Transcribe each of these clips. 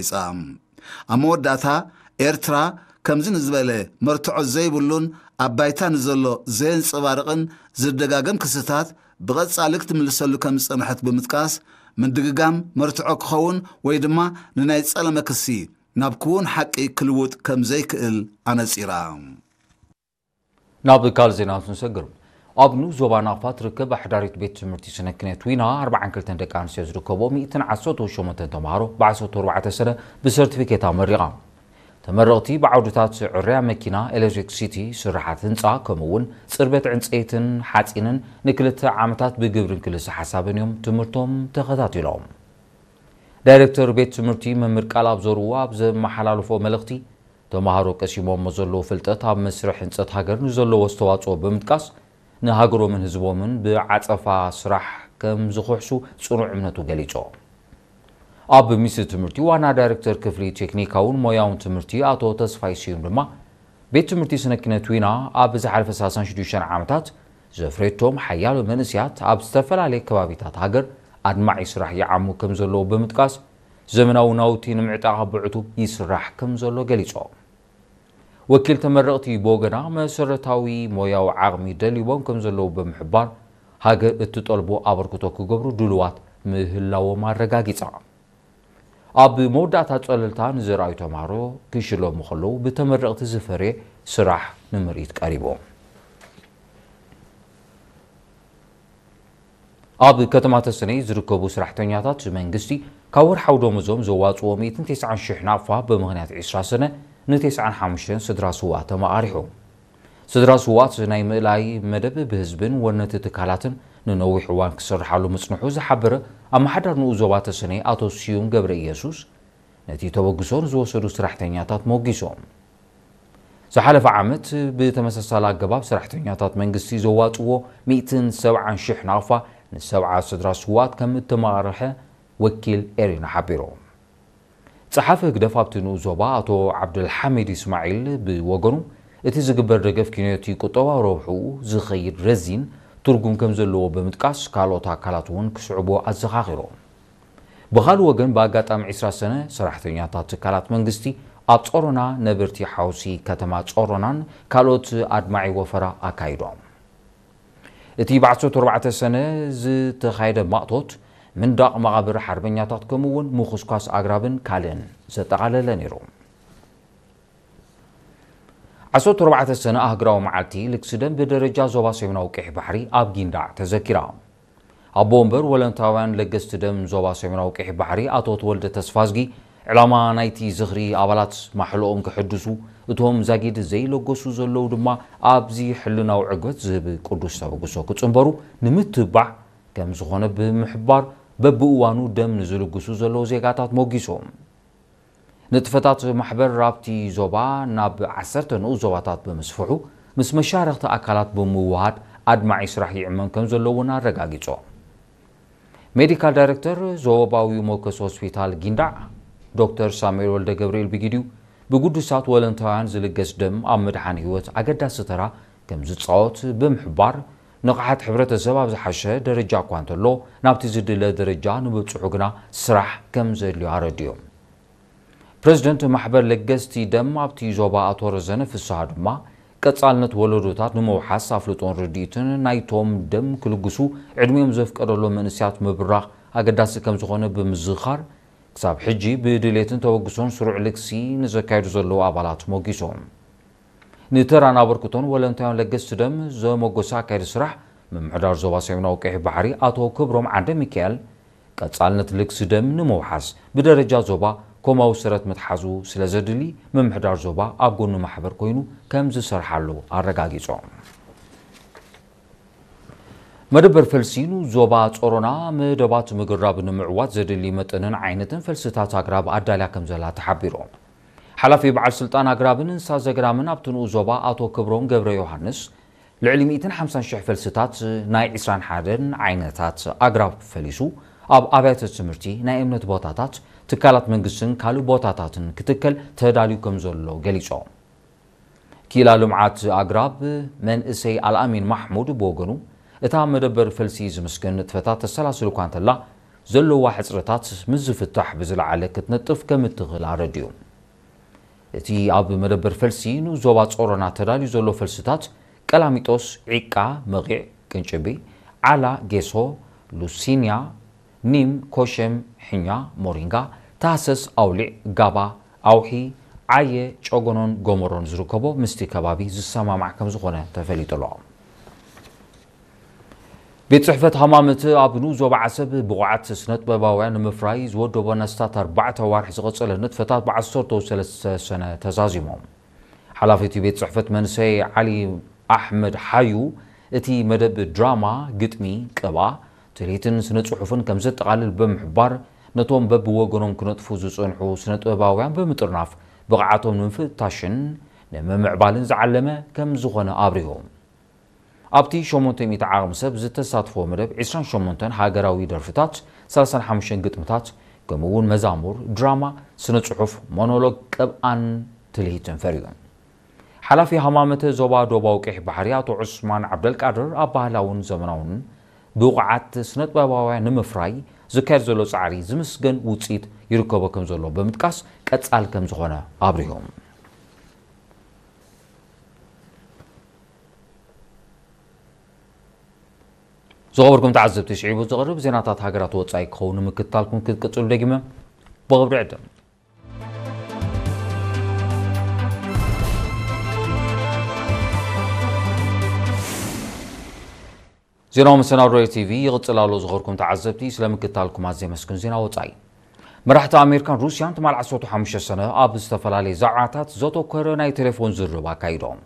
ገሊጻ። ኣብ መወዳእታ፣ ኤርትራ ከምዚ ንዝበለ መርትዖ ዘይብሉን ኣብ ባይታ ንዘሎ ዘየንጸባርቕን ዝደጋገም ክስታት ብቐጻሊ ክትምልሰሉ ከም ዝጸንሐት ብምጥቃስ፣ ምድግጋም መርትዖ ክኸውን ወይ ድማ ንናይ ጸለመ ክሲ ናብ ክውን ሓቂ ክልውጥ ከም ዘይክእል ኣነጺራ። ናብ ካልእ ዜና ክንሰግር። ኣብ ንኡስ ዞባ ናቕፋ ትርከብ ኣሕዳሪት ቤት ትምህርቲ ስነ ኪነት ዊና ኣርባዓን ክልተን ደቂ ኣንስትዮ ዝርከቦ ሚእትን ዓሰርተ ሸሞንተን ተምሃሮ ብዓሰርተ ኣርባዕተ ሰነ ብሰርቲፊኬት ኣመሪቓ። ተመረቕቲ ብዓውድታት ዕርያ መኪና፣ ኤሌክትሪክሲቲ፣ ስራሓት ህንፃ ከምኡ እውን ፅርበት ዕንፀይትን ሓፂንን ንክልተ ዓመታት ብግብርን ክልሰ ሓሳብን እዮም ትምህርቶም ተኸታቲሎም። ዳይሬክተር ቤት ትምህርቲ መምህር ቃል ኣብ ዘርኡ ኣብ ዘመሓላለፎ መልእኽቲ፣ ተምሃሮ ቀሲሞሞ ዘለዉ ፍልጠት ኣብ መስርሕ ህንፀት ሃገር ንዘለዎ ኣስተዋፅኦ ብምጥቃስ፣ ንሃገሮምን ህዝቦምን ብዓፀፋ ስራሕ ከም ዝኽሕሱ ፅኑዕ እምነቱ ገሊጹ። ኣብ ሚኒስትሪ ትምህርቲ ዋና ዳይሬክተር ክፍሊ ቴክኒካውን ሞያውን ትምህርቲ ኣቶ ተስፋይ ስዩም ድማ፣ ቤት ትምህርቲ ስነ ኪነት ዊና ኣብ ዝሓለፈ ሰላሳን ሽዱሽተን ዓመታት ዘፍረየቶም ሓያሎ መንእስያት ኣብ ዝተፈላለየ ከባቢታት ሃገር ኣድማዒ ስራሕ ይዓሙ ከም ዘለዉ ብምጥቃስ፣ ዘመናዊ ናውቲ ንምዕጣቕ ብዕቱብ ይስራሕ ከም ዘሎ ገሊጾም። ወኪል ተመረቕቲ ብወገና፣ መሰረታዊ ሞያዊ ዓቕሚ ደሊቦም ከም ዘለዉ ብምሕባር፣ ሃገር እትጠልቦ ኣበርክቶ ክገብሩ ድሉዋት ምህላዎም ኣረጋጊጻ። ኣብ መወዳእታ ጸለልታ ንዘርኣዩ ተምሃሮ ክሽለሙ ከለዉ፣ ብተመረቕቲ ዝፈርየ ስራሕ ንምርኢት ቀሪቡ። ኣብ ከተማ ተሰነይ ዝርከቡ ሰራሕተኛታት መንግስቲ፣ ካብ ወርሓዊ ደሞዞም ዘዋፅዎ ሚእትን ተስዓን ሽሕ ናቕፋ፣ ብምኽንያት ዒስራ ሰነ ንተስዓን ሓሙሽተን ስድራ ስውኣት ተመቓሪሑ። ስድራ ስውኣት ናይ ምእላይ መደብ ብህዝብን ወነንቲ ትካላትን ንነዊሕ እዋን ክስርሓሉ ምጽንሑ ዝሓበረ ኣመሓዳሪ ንኡስ ዞባ ተሰነይ ኣቶ ስዩም ገብረ ኢየሱስ፣ ነቲ ተበግሶ ንዝወሰዱ ሰራሕተኛታት ሞጊሶም። ዝሓለፈ ዓመት ብተመሳሳሊ ኣገባብ ሰራሕተኛታት መንግስቲ ዘዋፅዎ ሚእትን ሰብዓን ሽሕ ናቕፋ ንሰብዓ ስድራ ስውኣት ከም እተመቓርሐ ወኪል ኤሪና ሓቢሩ። ጸሓፊ ህግደፍ ኣብቲ ንኡስ ዞባ ኣቶ ዓብደልሓሚድ እስማዒል ብወገኑ፣ እቲ ዝግበር ደገፍ ኪኖቲ ቁጠባዊ ረብሕኡ ዝኸይድ ረዚን ትርጉም ከም ዘለዎ ብምጥቃስ፣ ካልኦት ኣካላት እውን ክስዕቦ ኣዘኻኺሩ። ብኻልእ ወገን፣ ብኣጋጣሚ ዒስራ ሰነ ሰራሕተኛታት ትካላት መንግስቲ ኣብ ጾሮና፣ ነበርቲ ሓውሲ ከተማ ጾሮናን ካልኦት ኣድማዒ ወፈራ ኣካይዶም። እቲ ብ ዓሰርተ ኣርባዕተ ሰነ ዝተኻየደ ማእቶት፣ ምንዳቕ መቓብር ሓርበኛታት ከምኡ እውን ምኹስኳስ ኣግራብን ካልእን ዘጠቓለለ ነይሩ። ዓሰርተ ኣርባዕተ ሰነ ኣህጉራዊ መዓልቲ ልግሲ ደም ብደረጃ ዞባ ሰሜናዊ ቀይሕ ባሕሪ ኣብ ጊንዳዕ ተዘኪራ። ኣቦ ወንበር ወለንታውያን ለገስቲ ደም ዞባ ሰሜናዊ ቀይሕ ባሕሪ ኣቶ ተወልደ ተስፋዝጊ፣ ዕላማ ናይቲ ዝኽሪ ኣባላት ማሕልኦም ከሐድሱ፣ እቶም ዛጊድ ዘይለገሱ ዘለዉ ድማ ኣብዚ ሕልናዊ ዕግበት ዝህብ ቅዱስ ተበግሶ ክጽንበሩ ንምትብባዕ ከም ዝኾነ ብምሕባር፣ በብእዋኑ ደም ንዝልግሱ ዘለዉ ዜጋታት ሞጊሶም። ንጥፈታት ማሕበር ኣብቲ ዞባ ናብ ዓሰርተ ንኡስ ዞባታት ብምስፍሑ፣ ምስ መሻርኽቲ ኣካላት ብምውሃድ ኣድማዒ ስራሕ ይዕመም ከም ዘሎ እውን ኣረጋጊጾም። ሜዲካል ዳይሬክተር ዞባዊ ሞከስ ሆስፒታል ጊንዳዕ ዶክተር ሳሙኤል ወልደ ገብርኤል ብጊዲኡ፣ ብግዱሳት ወለንታውያን ዝልገስ ደም ኣብ ምድሓን ህይወት ኣገዳሲ ተራ ከም ዝጻወት ብምሕባር፣ ንቕሓት ሕብረተሰብ ኣብ ዝሓሸ ደረጃ እኳ እንተሎ፣ ናብቲ ዝድለ ደረጃ ንምብጽሑ ግና ስራሕ ከም ዘድልዮ ኣረዲኦም። ፕረዚደንት ማሕበር ለገስቲ ደም ኣብቲ ዞባ ኣቶ ረዘነ ፍስሃ ድማ፣ ቀጻልነት ወለዶታት ንምውሓስ ኣፍልጦን ርድኢትን ናይቶም ደም ክልግሱ ዕድሚኦም ዘፍቀደሎም መንእሰያት ምብራኽ ኣገዳሲ ከም ዝኾነ ብምዝኻር፣ ክሳብ ሕጂ ብድሌትን ተበግሶን ስሩዕ ልግሲ ንዘካየዱ ዘለዉ ኣባላት ሞጊሶም። ንተራን ኣበርክቶን ወለንታውያን ለገስቲ ደም ዘመጎሰ ኣካየዲ ስራሕ ምምሕዳር ዞባ ሰሜናዊ ቀይሕ ባሕሪ ኣቶ ክብሮም ዓንደ ሚካኤል፣ ቀጻልነት ልግሲ ደም ንምውሓስ ብደረጃ ዞባ ኮማዊ ሰረት ምትሓዙ ስለ ዘድሊ፣ ምምሕዳር ዞባ ኣብ ጎኒ ማሕበር ኮይኑ ከም ዝሰርሓሉ ኣረጋጊጾም። መደበር ፈልሲ ንኡስ ዞባ ጾሮና መደባት ምግራብ ንምዕዋት ዘድሊ መጠንን ዓይነትን ፈልስታት ኣግራብ ኣዳልያ ከም ዘላ ተሓቢሩ። ሓላፊ በዓል ስልጣን ኣግራብን እንስሳ ዘገዳምን ኣብቲ ንኡስ ዞባ ኣቶ ክብሮም ገብረ ዮሃንስ፣ ልዕሊ ሚእትን ሓምሳን ሽሕ ፈልስታት ናይ ዒስራን ሓደን ዓይነታት ኣግራብ ፈሊሱ ኣብ ኣብያተ ትምህርቲ፣ ናይ እምነት ቦታታት፣ ትካላት መንግስትን ካልእ ቦታታትን ክትከል ተዳልዩ ከም ዘሎ ገሊጾም። ክኢላ ልምዓት ኣግራብ መንእሰይ ኣልኣሚን ማሕሙድ ብወገኑ፣ እታ መደበር ፈልሲ ዝምስገን ንጥፈታት ተሰላስል እኳ እንተላ፣ ዘለዋ ሕጽረታት ምስ ዝፍታሕ ብዝለዓለ ክትነጥፍ ከም እትኽእል ኣረዲኡ። እቲ ኣብ መደበር ፈልሲ ንኡስ ዞባ ጾሮና ተዳልዩ ዘሎ ፈልስታት ቀላሚጦስ፣ ዒቃ፣ መቒዕ፣ ቅንጭቢ፣ ዓላ፣ ጌሶ፣ ሉሲንያ፣ ኒም፣ ኮሸም፣ ሕኛ፣ ሞሪንጋ፣ ታህሰስ፣ ኣውሊዕ፣ ጋባ፣ ኣውሒ፣ ዓየ፣ ጨጎኖን ጎመሮን ዝርከቦ ምስቲ ከባቢ ዝሰማማዕ ከም ዝኾነ ተፈሊጡ ኣሎ። ቤት ጽሕፈት ሃማመት ኣብ ንኡስ ዞባ ዓሰብ ብቑዓት ስነጥበባውያን ንምፍራይ ዝወደቦ ንኣስታት ኣርባዕተ ኣዋርሕ ዝቐጸለ ንጥፈታት ብዓሰርተ ሰለስተ ሰነ ተዛዚሞም። ሓላፊ እቲ ቤት ጽሕፈት መንሰይ ዓሊ ኣሕመድ ሓዩ፣ እቲ መደብ ድራማ፣ ግጥሚ፣ ቅብኣ፣ ትልሂትን ስነ ጽሑፍን ከም ዘጠቓልል ብምሕባር፣ ነቶም በብወገኖም ክነጥፉ ዝጸንሑ ስነጥበባውያን ብምጥርናፍ ብቕዓቶም ንምፍታሽን ንምምዕባልን ዝዓለመ ከም ዝኾነ ኣብሪሁ። ኣብቲ ሸሞንተ ሚእቲ ዓቕሚ ሰብ ዝተሳትፎ መደብ፣ ዒስራን ሸሞንተን ሃገራዊ ደርፍታት፣ ሰላሳን ሓሙሽተን ግጥምታት፣ ከምኡ እውን መዛሙር፣ ድራማ፣ ስነ ጽሑፍ፣ ሞኖሎግ፣ ቅብኣን ትልሂትን ፈርዩ። ሓላፊ ሃማመተ ዞባ ዶባዊ ቀይሕ ባሕሪ ኣቶ ዑስማን ዓብደልቃድር፣ ኣብ ባህላውን ዘመናውን ብቑዓት ስነጥበባውያን ንምፍራይ ዝካየድ ዘሎ ጻዕሪ ዝምስገን ውጽኢት ይርከቦ ከም ዘሎ ብምጥቃስ፣ ቀጻል ከም ዝኾነ ኣብሪሁ። ዝኸበርኩም ተዓዘብቲ፣ ስዒቡ ዝቐርብ ዜናታት ሃገራት ወጻኢ ክኸውን ንምክትታልኩም ክትቅጽሉ ደጊመ ብኽብሪ ዕድም። ዜናዊ መሰናዶ ቲቪ ይቕጽል ኣሎ። ዝኸበርኩም ተዓዘብቲ፣ ስለ ምክትታልኩም ኣዝየ የመስግን። ዜና ወጻኢ። መራሕቲ ኣሜሪካን ሩስያን ትማል ዓሰርተ ሓሙሽተ ሰነ ኣብ ዝተፈላለየ ዛዕባታት ዘተኮረ ናይ ቴሌፎን ዝርርብ ኣካይዶም።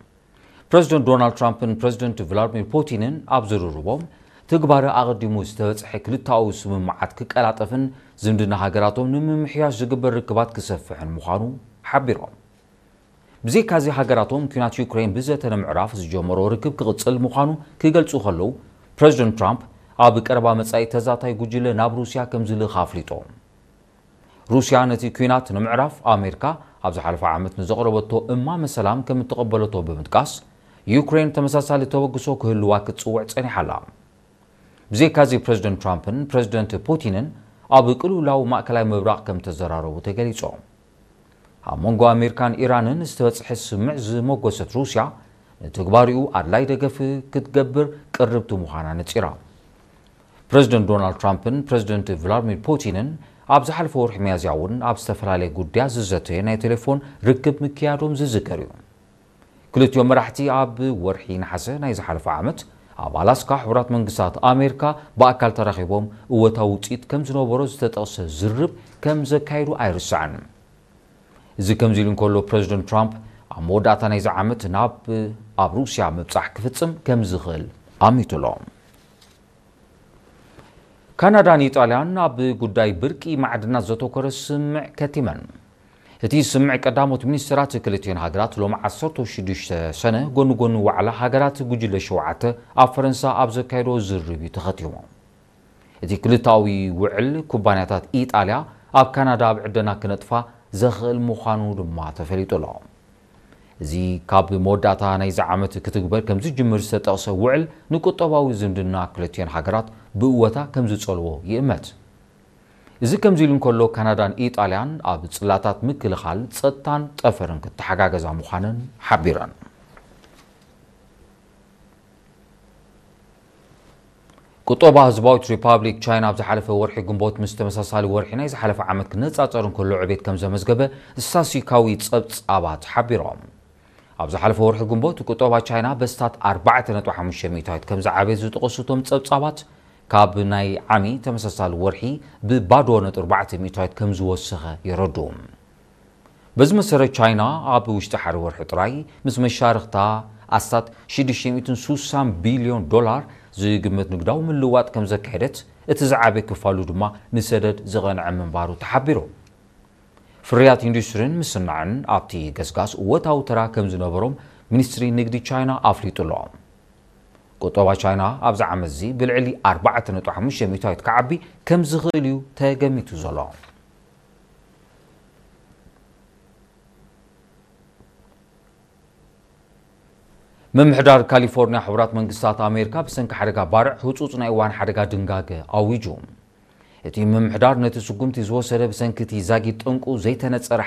ፕረዚደንት ዶናልድ ትራምፕን ፕረዚደንት ቭላድሚር ፑቲንን ኣብ ዝርርቦም፣ ትግባረ ኣቐዲሙ ዝተበጽሐ ክልተኣዊ ስምምዓት ክቀላጠፍን ዝምድና ሃገራቶም ንምምሕያሽ ዝግበር ርክባት ክሰፍሕን ምዃኑ ሓቢሮም። ብዘይካዚ፣ ሃገራቶም ኲናት ዩክሬን ብዘተ ንምዕራፍ ዝጀመሮ ርክብ ክቕጽል ምዃኑ ክገልጹ ከለዉ፣ ፕረዚደንት ትራምፕ ኣብ ቀረባ መጻኢ ተዛታይ ጉጅለ ናብ ሩስያ ከም ዝልእኽ ኣፍሊጦም። ሩስያ ነቲ ኲናት ንምዕራፍ ኣሜሪካ ኣብ ዝሓለፈ ዓመት ንዘቕረበቶ እማመ ሰላም ከም እተቐበለቶ ብምጥቃስ፣ ዩክሬን ተመሳሳሊ ተበግሶ ክህልዋ ክትጽውዕ ጸኒሓ ኣላ። ብዘይካዚ፣ ፕረዚደንት ትራምፕን ፕረዚደንት ፑቲንን ኣብ ቅልውላው ማእከላይ ምብራቕ ከም ተዘራረቡ ተገሊጹ። ኣብ መንጎ ኣሜሪካን ኢራንን ዝተበጽሐ ስምምዕ ዝመጎሰት ሩስያ፣ ንትግባሪኡ ኣድላይ ደገፍ ክትገብር ቅርብቲ ምዃና ነጺራ። ፕረዚደንት ዶናልድ ትራምፕን ፕረዚደንት ቭላድሚር ፑቲንን ኣብ ዝሓለፈ ወርሒ ሚያዝያ እውን ኣብ ዝተፈላለየ ጉዳያት ዝዘተየ ናይ ቴሌፎን ርክብ ምክያዶም ዝዝከር እዩ። ክልቲኦም መራሕቲ ኣብ ወርሒ ነሓሰ ናይ ዝሓለፈ ዓመት ኣብ ኣላስካ ሕቡራት መንግስታት ኣሜሪካ ብኣካል ተራኺቦም እወታዊ ውፅኢት ከም ዝነበሮ ዝተጠቕሰ ዝርርብ ከም ዘካየዱ ኣይርሳዕን። እዚ ከምዚ ኢሉ እንከሎ፣ ፕረዚደንት ትራምፕ ኣብ መወዳእታ ናይዚ ዓመት ናብ ኣብ ሩስያ ምብጻሕ ክፍጽም ከም ዝኽእል ኣሚቱ ኣሎ። ካናዳን ኢጣልያን ኣብ ጉዳይ ብርቂ ማዕድናት ዘተኮረ ስምምዕ ከቲመን። እቲ ስምምዕ ቀዳሞት ሚኒስትራት ክልቲኦን ሃገራት ሎሚ ዓሰርተ ሽዱሽተ ሰነ ጎኒ ጎኒ ዋዕላ ሃገራት ጉጅለ ሸውዓተ ኣብ ፈረንሳ ኣብ ዘካየዶ ዝርርብ እዩ ተኸቲሙ። እቲ ክልተኣዊ ውዕል ኩባንያታት ኢጣልያ ኣብ ካናዳ ኣብ ዕደና ክነጥፋ ዘኽእል ምዃኑ ድማ ተፈሊጡ ኣሎ። እዚ ካብ መወዳእታ ናይዚ ዓመት ክትግበር ከም ዝጅምር ዝተጠቕሰ ውዕል ንቁጠባዊ ዝምድና ክልቲኦን ሃገራት ብእወታ ከም ዝጸልዎ ይእመት። እዚ ከምዚ ኢሉ እንከሎ፣ ካናዳን ኢጣልያን ኣብ ጽላታት ምክልኻል፣ ጸጥታን ጠፈርን ክተሓጋገዛ ምዃነን ሓቢረን። ቁጠባ ህዝባዊት ሪፓብሊክ ቻይና ኣብ ዝሓለፈ ወርሒ ግንቦት ምስ ተመሳሳሊ ወርሒ ናይ ዝሓለፈ ዓመት ክነጻጸር እንከሎ ዕቤት ከም ዘመዝገበ ስታስቲካዊ ጸብጻባት ሓቢሮም። ኣብ ዝሓለፈ ወርሒ ግንቦት ቁጠባ ቻይና በስታት ኣርባዕተ ነጥቢ ሓሙሽተ ሚእታዊት ከም ዝዓበየ ዝጠቐሱ እቶም ጸብጻባት፣ ካብ ናይ ዓሚ ተመሳሳሊ ወርሒ ብባዶ ነጥቢ ኣርባዕተ ሚእታዊት ከም ዝወሰኸ የረድኡ። በዚ መሰረት፣ ቻይና ኣብ ውሽጢ ሓደ ወርሒ ጥራይ ምስ መሻርኽታ ኣስታት ሽዱሽተ ሚእትን ስሳን ቢልዮን ዶላር ዝግመት ንግዳዊ ምልውዋጥ ከም ዘካየደት፣ እቲ ዝዓበየ ክፋሉ ድማ ንሰደድ ዝቐንዐ ምንባሩ ተሓቢሩ። ፍርያት ኢንዱስትሪን ምስናዕን ኣብቲ ገስጋስ እወታዊ ተራ ከም ዝነበሮም ሚኒስትሪ ንግዲ ቻይና ኣፍሊጡ ኣሎ። ቁጠባ ቻይና ኣብዚ ዓመት እዚ ብልዕሊ ኣርባዕተ ነጥቢ ሓሙሽተ ሚእታዊት ክዓቢ ከም ዝኽእል እዩ ተገሚቱ ዘሎ። ምምሕዳር ካሊፎርኒያ ሕቡራት መንግስታት ኣሜሪካ ብሰንኪ ሓደጋ ባርዕ ህጹጽ ናይ እዋን ሓደጋ ድንጋገ ኣዊጁ። እቲ ምምሕዳር ነቲ ስጉምቲ ዝወሰደ ብሰንኪ እቲ ዛጊት ጠንቁ ዘይተነጸረ